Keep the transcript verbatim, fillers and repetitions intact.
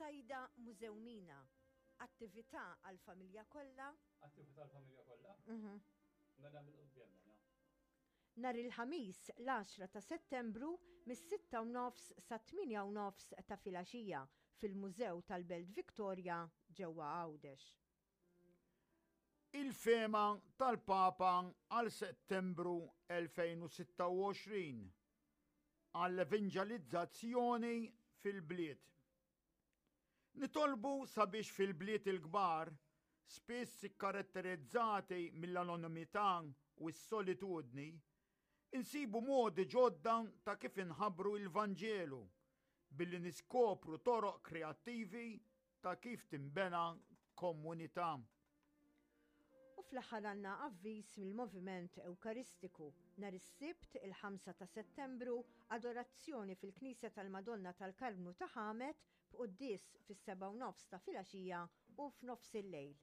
Sajda Mużewmina, attività għall-familja kollha. Attività għall-familja kollha? Mhm. Mela mill-quddiem mela. Nhar il-Ħamis l-għaxra ta' Settembru mis-sitta u nofs sat-tmienja u nofs ta' filgħaxija fil-Mużew tal-Belt Victoria ġewwa Għawdex. Il-fehma tal-Papa għal Settembru elfejn u sitta u għoxrin għall-evanġelizzazzjoni fil-bliet. Nitolbu sabiex fil-bliet il-kbar, spiss ikkaratterizzati mill-anonimità u s-solitudni, insibu modi ġodda ta' kif inħabbru il-Vanġelu billi niskopru toroq kreattivi ta' kif tinbena komunità. U fl-aħħar għandna avviż mill-Moviment Ewkaristiku. Nhar is-Sibt, il-ħamsa ta' Settembru, adorazzjoni fil-Knisja tal-Madonna tal-Karmnu ta' Ħamet b'quddies fis-sebgħa u nofs ta' filgħaxija u f'nofs il-lejl.